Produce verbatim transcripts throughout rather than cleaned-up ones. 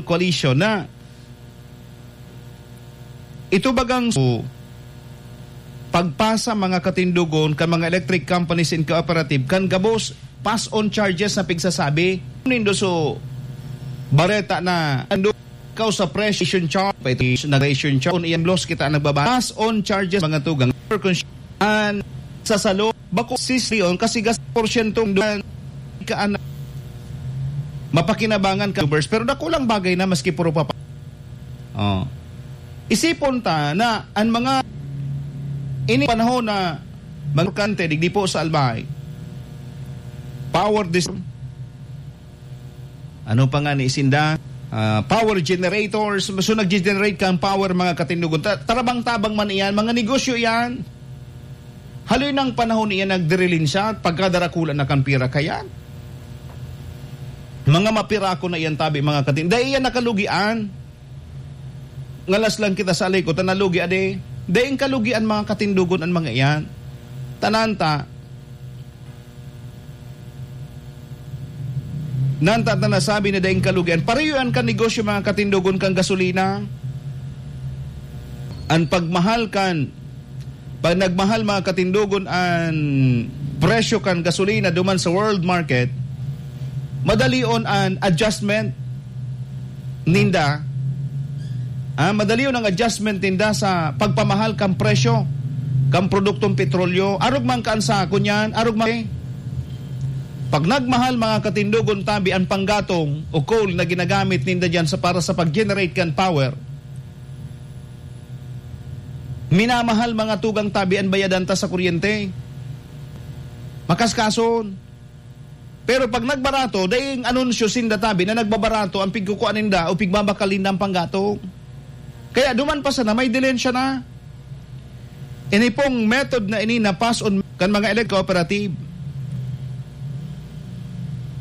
Coalition na ito bagang su-, pagpasa mga katindogon kan mga electric companies and cooperative kan gabos pass on charges na pigsasabi. Nindo so bareta na ando ikaw sa presyo charge, pa ito na presyo charge, kung iyan loss kita nagbaba. Pass on charges mga tugang. And sa salo, bako sisyon kasi gas porsyento doon ka ana-, mapakinabangan ka, pero dakulang bagay na maski puro papa. Oh. Isipon ta na ang mga ini panahon na mga kante, digdi po sa Albay, power dis-, ano pa nga ni sinda? Ah, power generators. So, nag-generate kang power, mga katindogon. Ta-, tarabang-tabang man iyan, mga negosyo iyan. Haloy nang panahon iyan nagdirilin siya, pagkadarakula na kan pira kayan. Mga mapirako na iyan tabi, mga katin-, dai iyan nakalugian. Ngalas lang kita sa alikot, ta nalugi ade. Daing kalugian, mga katindogon, an mga iyan. Tanan ta, nanta ta nasabi na daing kalugian. Pareho an kan negosyo, mga katindogon, kan gasolina. An pagmahal kan, pag nagmahal, mga katindogon, an presyo kan gasolina duman sa world market, madalion an adjustment ninda. Ah, madalion ang adjustment ninda sa pagpamahal kan presyo kan produktong petrolyo. Arog man kan sa kunyan, arog man. Pag nagmahal, mga katindogon, tabi an panggatong o coal na ginagamit ninda diyan sa, para sa pag-generate kan power, minamahal, mga tugang, tabi an bayadan ta sa kuryente. Makaskason. Pero pag nagbarato, daing anunsyo sinda tabi na nagbabarato ang pigkukuha ninda o pigbabakal ninda ang panggatong. Kaya duman pa sana, may dilensya na. Ini pong method na ini na pass on kan mga elect cooperative.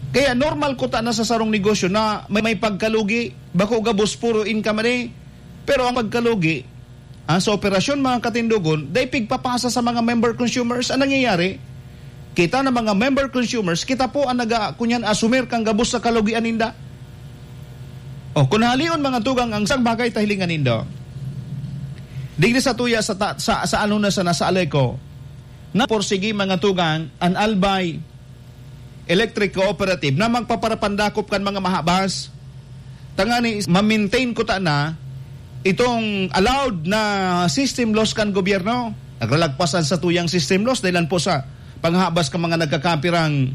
Kaya normal kuta na sa sarong negosyo na may, may pagkalugi, bako gabos puro income ni. Pero ang pagkalugi, ah, sa operasyon, mga katindogon, dai pigpapasa sa mga member consumers. Ang nangyayari, kita na mga member consumers, kita po ang naga-, kunyan, asumir kang gabos sa kalugian ninda. O, kung halion, mga tugang, ang isang bagay ta hilingan nindo. Digdi sa tuya sa ta-, sa, sa ano na sa nasa Aleco, na porsigi, mga tugang, an Albay Electric Cooperative na magpaparapandakop kan mga mahabas. Tangani, ma-maintain kuta na itong allowed na system loss kan gobyerno. Nagralagpasan sa tuyang system loss dahil po sa panghabas kan mga nagkakapirang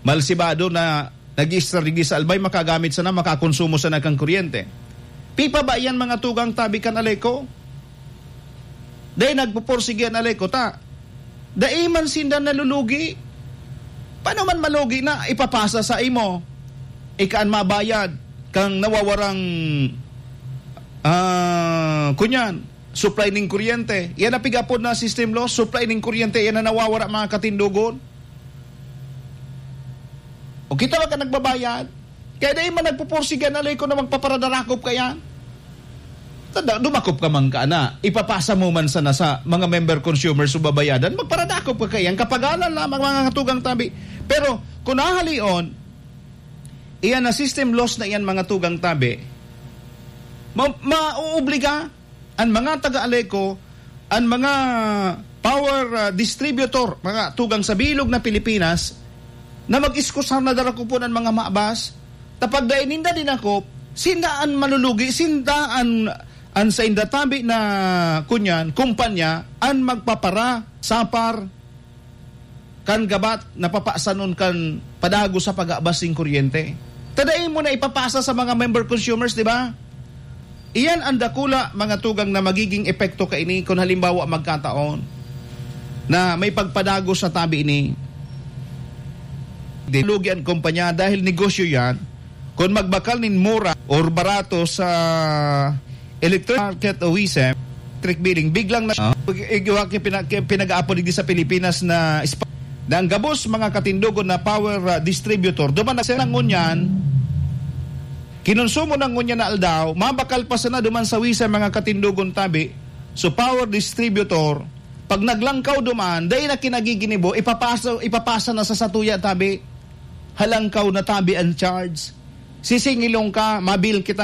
malsibado na nag-i-store digdi sa Albay, makagamit sana, makakonsumo sana kan kuryente. Pipa ba yan, mga tugang, tabi kan Aleco? Dai nagpupursige an Aleco ta. Dai man sinda nalulugi. Paano man malugi na ipapasa sa imo? Ika an mabayad kang nawawarang, ah, kunyan, supply ning kuryente. Yan ang pig-apod na system loss, supply ning kuryente, yan ang nawawara, mga katindogon. O kita ba ka nagbabayad? Kaya dai man nagpupursige an Aleco na magpaparadarakop ka yan. Tada, dumakop ka man ka na, ipapasa mo man sana sa mga member consumers o babayadan, magparadakop ka kaiyan, kapagalan lamang, mga tugang tabi. Pero kung nahalion, iyan na system loss na iyan, mga tugang tabi, ma-, maoobliga an mga taga-Aleco, an mga power, ah, distributor, mga tugang sa bilog na Pilipinas, na mag-iskusar na darakupon an mga maabas, ta pag dai ninda dinakop, sinda an malulugi, sinda an, an sainda tabi na, kunyan, kumpanya, an magpapara, sapar, kan gabat na papasanon kan padagos sa pag-aabas nin kuryente. Ta dai mo na ipapasa sa mga member consumers, di ba? Iyan ang dakula, mga tugang, na magiging epekto kaini kun halimbawa magkataon na may pagpadagos sa tabi ini. Di lugi ang kumpanya dahil negosyo yan. Kun magbakal nin mura or barato sa electric market o WESM, electric billing, biglang na, ah, igiwa ki pina-, ki pinag-aapod digdi sa Pilipinas na spa-, na ang gabos mga katindogon na power, ah, distributor, duman na siya ngunyan, kinonsumo na ngunyan na aldaw, mabakal pa sana duman sa WESM mga katindogon tabi, so power distributor, pag naglangkaw duman, dai na kinagiginibo, ipapasa, ipapasa na sa satuya tabi, halangkaw na tabi ang charge. Sisingilong ka, mabil kita